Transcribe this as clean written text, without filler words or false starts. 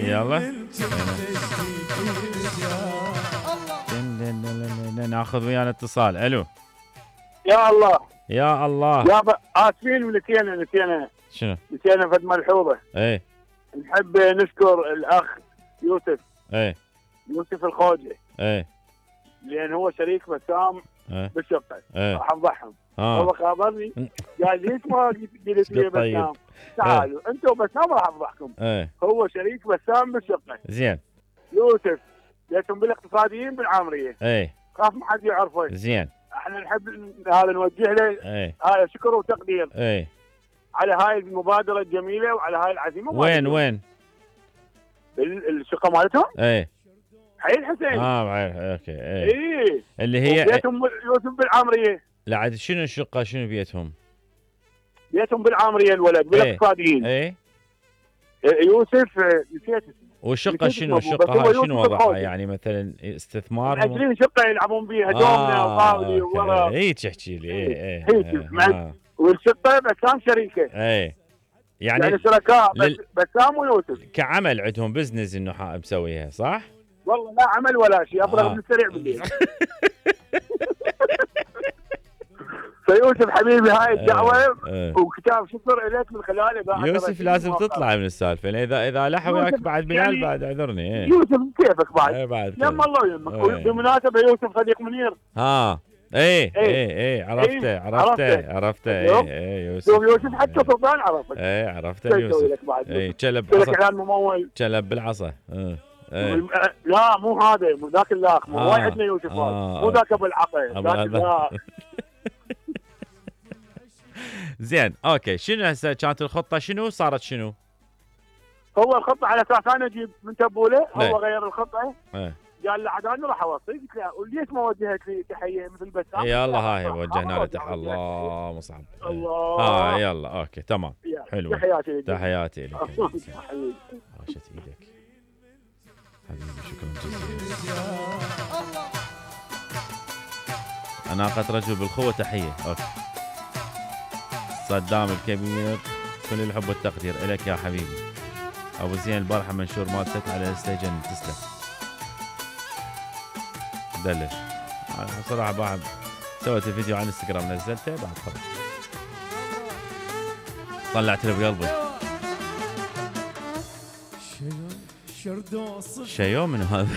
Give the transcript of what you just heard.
يلا ناخذ ويانا اتصال. الو يا الله يا الله. يابا اسفين نسينا شنو؟ نسينا فد ملحوظه. ايه نحب نشكر الاخ يوسف. ايه يوسف الخوجي. ايه لان هو شريك بسام ايه بالشقه. ايه راح افضحهم. اه هو خابرني قال ليش ما قلت لي بسام؟ تعالوا انتم بسام راح افضحكم. ايه هو شريك بسام بالشقه. زين. يوسف ليتهم بالاقتصاديين بالعامريه. ايه خاف ما حد يعرفه. زين. احنا نحب هذا نوجه له ايه هذا شكر وتقدير ايه على هاي المبادره الجميله وعلى هاي العزيمه. وين؟ بالشقه مالتهم؟ ايه حي الحسين. بعرف. اوكي. ايه اللي هي بيتهم يوسف بالعامريه. لا عاد شنو الشقه شنو بيتهم؟ بيتهم بالعامريه الولد بالاقتصاديين. ايه يوسف نسيت. والشقه شنو؟ الشقه هاي شنو وضعها؟ يعني مثلا استثمار؟ مأجرين شقه يلعبون بيها دومنا وطاولي وورا. هيك احكي لي. ايه والشقه بسام شريكه. ايه يعني شركاء بسام ويوسف. كعمل عندهم بزنس انه مسويها صح؟ والله لا عمل ولا شيء. افرغ من السريع بالليل. فيوسف حبيبي هاي الدعوه وكتاب شكر اليك من خلاله. يوسف لازم تطلع من السالفه. اذا لح وياك بعد بلال بعد اعذرني. يوسف كيفك بعد؟ بعد يم الله يمك. وبمناسبه يوسف صديق منير. ايه عرفته. ايه يوسف حتى سلطان عرفك. ايه عرفته يوسف. ايه كلب بالعصا. كان ممول. كلب بالعصا. لا مو هذا ذاك الاخ. مو وايد عندنا يوسف مو ذاك ابو العصا. زين اوكي. شنو هسه كانت الخطه؟ شنو صارت؟ شنو هو الخطه على اساس انا اجيب من تبوله. هو غير الخطه. قال له عاد انا راح اوصي. قلت له وليش ما وجهت لي تحيه مثل بسام؟ يلا هاي وجهنا له تحيه. الله مصعب. الله. يلا اوكي تمام. حلو. تحياتي لك. عاشت ايدك حبيبي. شكرا جزيلا. اناقة رجل بالخوة تحية. اوكي. صدام الكبير كل الحب والتقدير لك يا حبيبي. ابو زين البارحة منشور مالتك على الانستجن. تسلم. دلل. صراحة بعد سويت الفيديو على الانستغرام نزلته بعد خلاص طلعت له بقلبي. شيو من هذا.